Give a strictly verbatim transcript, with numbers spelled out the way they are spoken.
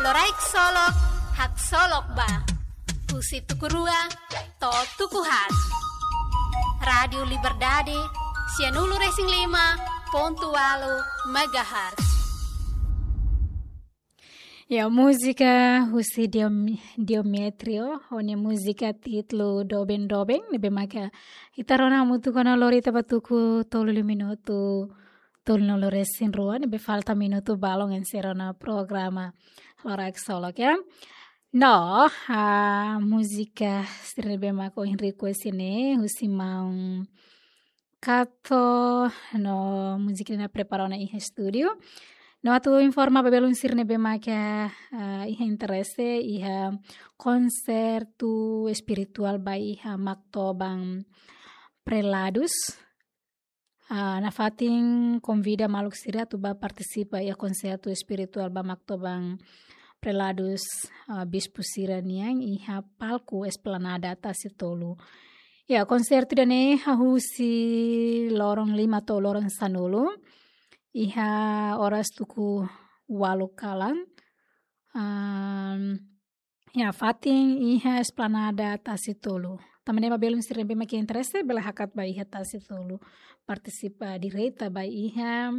Loraik Solok, haksolok ba. Husi tuku rua to'o tuku haat. Rádiu Liberdade, sianulu-resin-lima pontu ualu megahertz. Ya, múzika husi Diom-, Diometrio, ho nia múzika títulu Doben Doben, ne'ebé maka ita rona hamutuk ona lori ita ba tuku tolu minutu, tolu-nulu-resin-rua, ne'ebé falta minutu balun enserra ona programa Loraik Solok, ya. No, ah, múzika sira ne'ebé maka ohin request ne'e, husi maun Kato, no múzika ne'e prepara ona iha estúdiu. No atu informa ba belun sira ne'ebé maka, ah, iha interese, iha konsertu espirituál ba iha Maktoban Preladus. Ah, nafatin konvida maluk sira atu ba partisipa iha konsertu espirituál ba Maktoban Preladus, ah, bispu sira-nian iha palku Esplanada Tasitolu. Ya, konsertu ida-ne'e husi loron lima to'o loron sanulu. Iha oras tuku ualu kalan. Am, ya, fatin iha Esplanada Tasitolu. Tanba ne'e ba belun sira ne'ebé maka interese, bele hakat ba iha Tasitolu. Partisipa direta ba iha